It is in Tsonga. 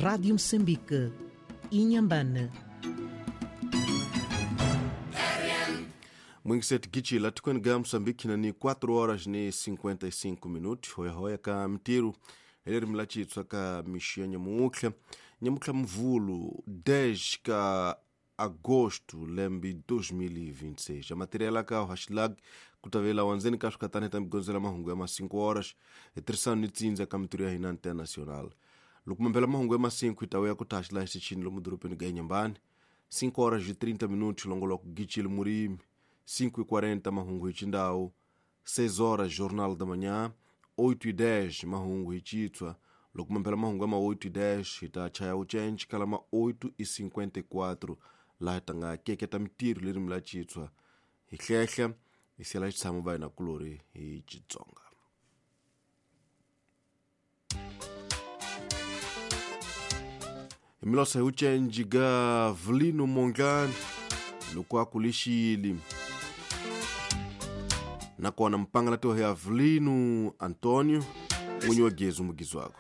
Rádio Moçambique, Inhambane. Mwingiseti gichila tikweni ga Moçambique na ni 4 horas ni 55 minutos. Hoya hoya ka mtiru eleri mlachitswa ka mixia nyamutlha nyamutlha mvulu 10 ka agosto lembe 2026. A matéria ka hashtag kutavela wanzeni ka swikatani ta migondzela mahungu ya ma 5 horas hi tirhisana ni tsindza ka mitirho ya hina international. Loko mambela mahungu ya ma 5 hi ta vuya ku taxila hi xichini lomu dorobeni ga Inhambane. 5 horas e 30 minutos longoloko gichile murimi. 5:40 mahungu hi xindhawu. 6 horas jornal da manhã. 8:10 mahungu hi xitswa. Loko mambela mahungu ya ma 8:10 hi ta chaya ucenci kala ma 8:54 laha hi ta nga keketa mitirho lerimi la xitswa hi hlehla hi siela xitshamo va hina kulori hi Xitsonga. Hi milosa hi ucenci ga Vulino Mondlane loko a kulixile. Nakona mpangala toho ya Vulino Antonio n'winyi wa Gezu mugizwako.